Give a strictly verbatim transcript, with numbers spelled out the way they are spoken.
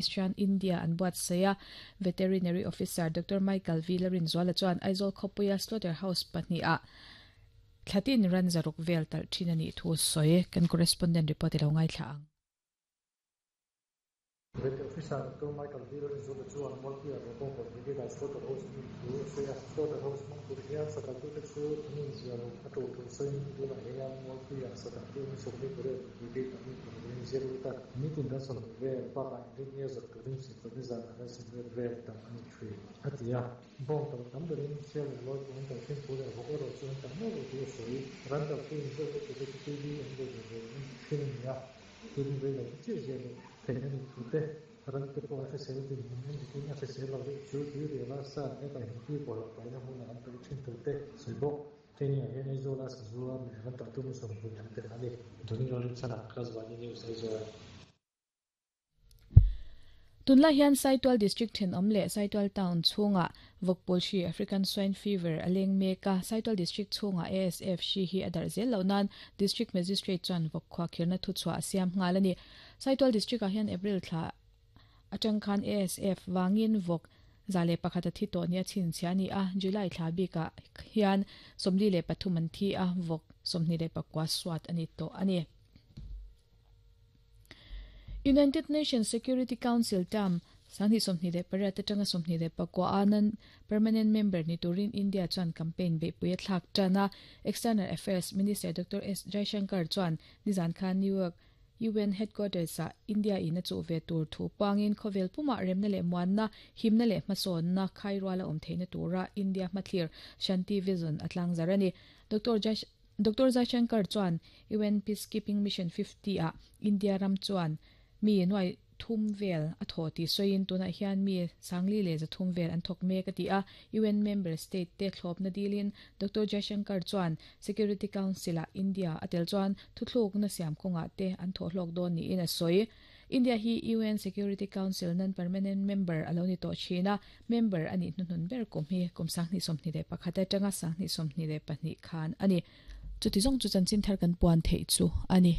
Christian India an buat saya Veterinary Officer Doctor Michael V. Larinzuala chuan Aizawl khawpuia slaughter house pahnih a thlatin ran zaruk vel tal thin ani thu sawi kan correspondent report ilo ngai thla ang. Vet Officer Doctor Michael V. Larinzuala chuan Mualpuia Rawbawng Brigade slaughter house min thu sawi a slaughter house hmang tur hian sakal tu te chu min zialo a tu thu sawiin tunah hian Mualpuia sakal tu ni sawmli pariat brigade an in zero ta nitin ran sawmhnih vel bakah inrin zar turin sawmhnih zan ran sawmhnih vel tam ani thui a ti a bawng tam tam berin sial leh lawi pawh an tal thin thu leh vawk erawh chu an tam meuh lo tih a sawi ran tal tu in zawk te chu te T V an ve ve an ti thin ani a tin vei lo te chiah ziah loh theih ani thu te ran te pawh a hrisel din hmun en dikin a hrisel lo deuh chu tui riala sa ne ka him pi pawh lo paina hmunah an paih thin thu te sawi bawk training ah hian Aizawl a Sazua leh ran tal tu sawmhnih an tel ani Doni Lorin chana Klaswani News Aizawl. Tunlai hian Saitual District thenawm leh Saitual Town chhunga vawkpul hri African Swine Fever a leng mek a Saitual District chhunga A S F hri hi a darh zel loh nan District Magistrate chuan vawk khua khirna thu chhuah a siam nghal ani Saitual District ah hian April thla atang khan A S F wangin vawk zale pakhat a thi tawh nia chin chhia ni a July thla bika hian sawmli leh pathum an thi a vawk sawmhnih leh pakua suat ani tawh ani. United Nations Security Council term sangni sawmhnih leh pariat atanga sawmhnih leh pakua anan permanent member ni turin India chuan campaign beihpui a thlak tan a External Affairs Minister Doctor S Jaishankar chuan nizan khan New York U N headquarters a India in a chu ve tur thu pangin khawvel puma remna leh muanna himna leh hmasawnna khairuala awm theihna tura India hmathlir Shanti Vision a tlang zar ani Doctor Jaish Doctor Jaishankar chuan U N Peacekeeping Mission fifty a India ram chuan mi nuai thum vel a thaw ti soin tuna hian mi sangli le za thum vel an thok mek ati a U N member state te thlop na dilin Doctor Jaishankar chuan Security Council a India atel chuan thuthluk na siam konga te an thaw hlok don ni in a soi India hi U N Security Council nan permanent member aloni to china member ani hnunun ber kum hi kum sangni somni le pakhata tanga sangni somni le pahnih khan ani chuti zong chu chanchin thar kan puan thei chu ani.